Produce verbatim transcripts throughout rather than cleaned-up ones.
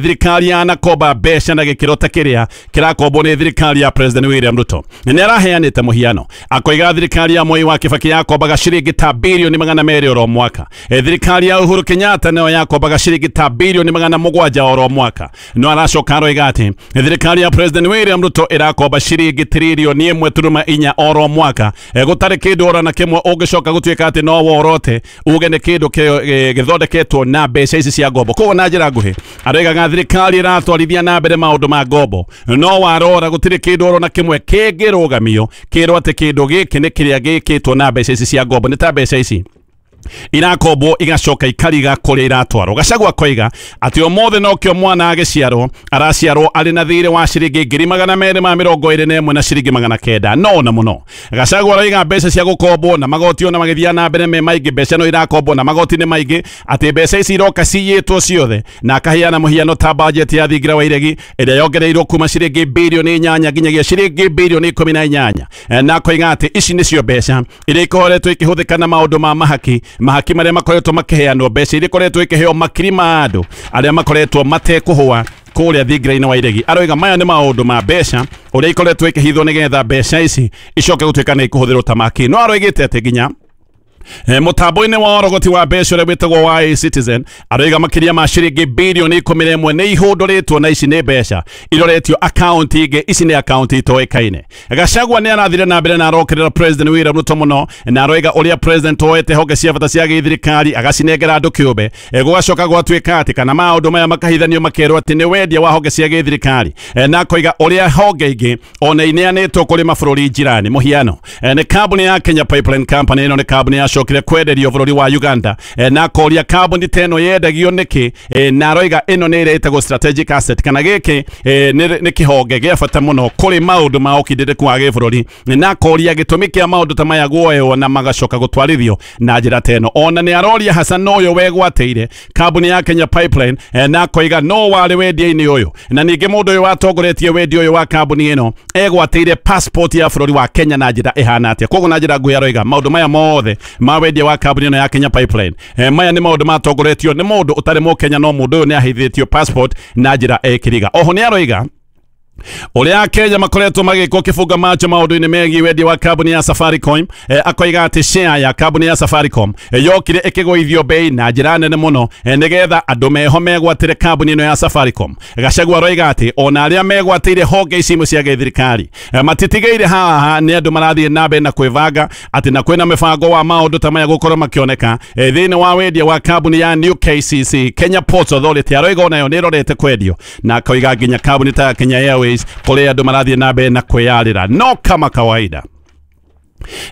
Thirikari yanakomba mbeca na gĩkĩro ta kĩrĩa kĩrakombwo nĩ thirikari ya President William Ruto. Nĩ araheanĩte mũhiano akoiga thirikari ya Mwai wa Kibaki yakombaga ciringi ta bilioni magana merĩ oro mwaka, thirikari ya Uhuru Kenyatta nayo yakombaga ciringi ta bilioni magana mũgwanja oro mwaka. No aracoka aroiga atĩ thirikari ya President William Ruto ĩrakomba ciringi trilioni ĩmwe turuma inya oro mwaka, gũtarĩ kĩndũ ora na kĩmwe ũngĩcoka gũtuĩka atĩ no worote uge nĩ kĩndũ gĩthondeketwo na mbeca ici cia ngombo. Koguo na njĩra nguhĩ aroigaga thirikari ĩratwarithia na mbere maũndũ ma ngombo, no warora gũtirĩ kĩndũ oro na kĩmwe kĩngĩrũgamio kĩrwo atĩ kĩndũ gĩkĩ nĩ kĩrĩa gĩkĩtwo na mbeca ici cia ngombo. Nĩ ta mbeca ici irakombwo igacoka ikariga kũrĩa iratwarwo. Gachagua koiga atĩ ũmũthĩ nokĩo mwana agĩciarwo araciarwo arĩ na thirĩ wa ciringi ngiri magana merĩ ma mĩrongo ĩrĩ na ĩmwe na ciringi magana kenda. No na mũno Gachagua aroiga mbeca cia gũkombwo na magoti ona magĩthiĩ na mbere me maingĩ, mbeca no irakombwo na magoti nĩ maingĩ, atĩ mbeca ici iroka ciyĩtwo ciothe, na akaheana mũhiano ta budget ya thingira wa iregi ĩrĩa yongereirwo kuma ciringi bilioni inyanya nginyagia ciringi bilioni ikũmi na inyanya, na akoiga atĩ ici nĩcio mbeca iria ikoretwo ikĩhũthĩka na maũndũ ma mahaki mahaki marĩa makoretwo makĩheanwo, mbeca iria ikoretwo ikĩheo makiri ma andũ arĩa makoretwo matekũhũa kũrĩa thingira-inĩ wa iregi. Aroiga maya nĩ maũndũ ma mbeca ũrĩa ikoretwo ikĩhithwo nĩgetha mbeca ici icoke gũtuĩka nĩ ikũhũthĩrwo ta maki. No aroigĩte atĩ nginya mutambo-inĩ wa ũrogoti wa mbeca ũrĩa wĩtagwo wa eCitizen aroiga makĩria ma ciringi bilioni ikũmi na ĩmwe nĩ ihũndũrĩtwo na ici nĩ mbeca iroretio akaunti ingĩ, ici nĩ akaunti itoĩkaine. Gachagua nĩ arathire na mbere na arokĩrĩra President William Ruto mũno, na aroiga ũrĩa President oete honge cia bata cia gĩthirikari agacinengera andũ kĩũmbe, gũgacoka gwatuĩka atĩ kana maũndũ maya makahithanio makerwo atĩ nĩ wendia wa honge cia gĩthirikari, na akoiga ũrĩa honge ingĩ ona ineanĩtwo kũrĩ mabũrũri jirani. Mũhiano nĩ kambuni ya Kenya Pipeline Company, ĩno nĩ kambuni yacokire kwenderio bũrũri wa Uganda, na akoria kambuni ta ĩno yendagio nĩkĩ, na aroiga ĩno nĩ ĩrĩa ĩtagwo strategic asset, kana gĩkĩ nĩ kĩhonge gĩa bata mũno kũrĩ maũndũ ma ũkindĩrĩku wa gĩbũrũri, na akoria gĩtũmi kĩa maũndũ ta maya guoywo na magacoka gũtwarithio na njĩra ta ĩno. Ona nĩ aroria Hassan ũyũ wegwatĩire kambuni ya Kenya Pipeline, na akoiga no warĩ wendia-inĩ ũyũ, na ningĩ mũndũ ũyũ watongoretie wendia ũyũ wa kambuni ĩno egwatĩire passport ya bũrũri wa Kenya na njĩra ĩhana atĩa. Koguo na njĩra nguhĩ aroiga maũndũ maya mothe ma wendia wa kambuni ĩno ya Kenya Pipeline, eh, maya nĩ maũndũ matongoretio nĩ mũndũ ũtarĩ mũkenya, no mũndũ ũyũ nĩ ahithĩtio passport na njĩra ĩkĩriga. Oho nĩ aroiga ũrĩa Kenya makoretwo magĩkwo kĩbunga macho maũndũ-inĩ megiĩ wendia wa kambuni ya Safaricom, eh, akoiga atĩ share ya kambuni ya Safaricom eh, yokire ĩkĩgũithio bei na njĩra nene mũno, eh, nĩgetha andũ meho megwatĩre kambuni ĩno ya Safaricom. Gachagua aroiga atĩ ona arĩa megwatĩire honge ici imwe cia gĩthirikari eh, matitigĩire haha, nĩ andũ marathiĩ na mbere na kwĩbanga atĩ na kwĩna mĩbango wa maũndũ ta maya gũkorwo makĩoneka eh, thĩinĩ wa wendia wa kambuni ya New K C C Kenya Ports Authority. Aroiga onayo nĩ ĩrorete kwendio, na akoiga nginya kambuni ta Kenya Airways kũrĩa andũ marathiĩ na mbere na kwĩyarĩra no kama kawaida.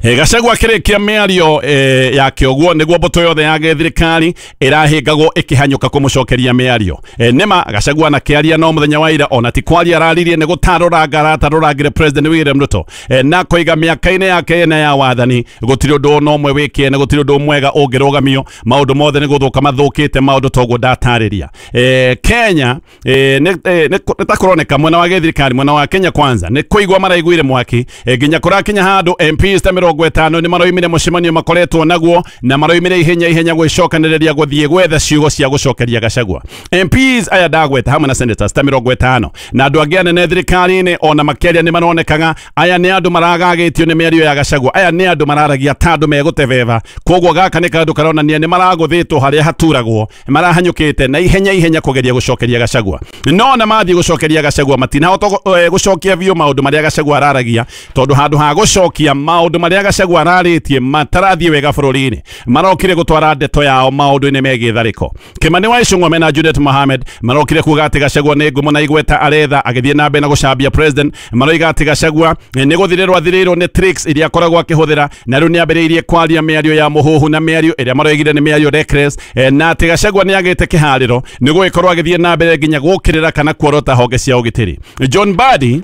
E, Gachagua akĩrĩkia mĩario e, yake ũguo nĩguo mbũtũ yothe ya gĩthirikari ĩrahĩngagwo ĩkĩhanyũka kũmũcokeria mĩario. E, nĩma Gachagua anakĩaria no mũthenya wa ira ona ti kwaria araririe nĩ gũtarũranga aratarũrangire President William Ruto, e, na koiga mĩaka-inĩ yake ĩna ya wathani gũtirĩ ũndũ ona ũmwe wĩkĩene, gũtirĩ ũndũ mwega ũngĩrũgamio, maũndũ mothe nĩ gũthũka mathũkĩte, maũndũ toguo ndatarĩria. E, Kenya e, nĩ e, nĩ ta kũroneka mwena wa gĩthirikari, mwena wa Kenya Kwanza nĩ kũigua maraiguire mwaki, e, nginya kũrakinya handũ M Ps ta mĩrongo ĩtano nĩ maroimire mũcemanio makoretwo naguo na maroimire ihenya ihenya gwĩcokanĩrĩria gũthiĩ gwetha ciugo cia gũcokeria Gachagua. M Ps aya ndagweta hamwe na senators ta mĩrongo ĩtano na andũ angĩ anene thirikari-inĩ ona makĩaria nĩ maronekaga aya nĩ andũ maragagĩtio nĩ mĩario ya Gachagua, aya nĩ andũ mararagia ta andũ megũtebeba. Koguo gaka nĩ kaũndũ karonania nĩ maragũthĩtwo harĩa haturagwo, marahanyũkĩte na ihenya ihenya kũgeria gũcokeria Gachagua. No na mathiĩ gũcokeria Gachagua matinahota gũcokia biũ maũndũ marĩa Gachagua araragia, tondũ handũ ha gũcokia maũndũ marĩa Gachagua ararĩtie matarathiĩ wega bũrũri-inĩ, marokire gũtwara ndeto yao maũndũ-inĩ megiĩ tharĩko. Kimani wa Ichung'wa mena Juliet Mohamed marokire kuga atĩ Gachagua nĩ ngumo na igweta aretha, agĩthiĩ na mbere na gũcambia president. Maroiga atĩ Gachagua nĩ gũthirĩrwo athirĩirwo nĩ tricks iria akoragwo akĩhũthĩra, na rĩu nĩ ambĩrĩirie kwaria mĩario ya mũhuhu na mĩario ĩrĩa maroigire nĩ mĩario reckless, na atĩ Gachagua nĩ agĩte kĩharĩro nĩ gũgĩkorwo agĩthiĩ na mbere nginya gũkĩrĩra kana kuorota honge cia ũgitĩri. John Mbadi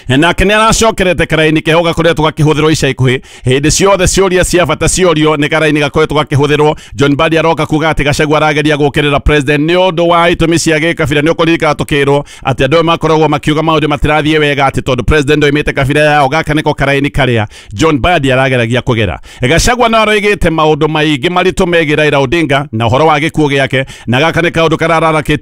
nake nĩ aracokerete karaini keho gakoretwo gakĩhũthĩrwo ica ikuhĩ hĩndĩ ciothe ciũria cia bata ciorio nĩ karaini gakoretwo gakĩhũthĩrwo. John Mbadi aroka kuga atĩ Gachagua arageria gũkĩrĩra president nĩ ũndũ wa itũmi cia gĩkabira. Nĩ ũkũririkana tũkĩrwo atĩ andũ makoragwo makiuga maũndũ matirathiĩ wega atĩ tondũ president oimĩte kabira yao, gaka nĩko karaini karĩa John Mbadi arageragia kũgera. Gachagua no aroigĩte maũndũ maingĩ maritũ megiĩ Raila Odinga na ũhoro wa gĩkuũ gĩake, na gaka nĩ kaũndũ karararakĩtie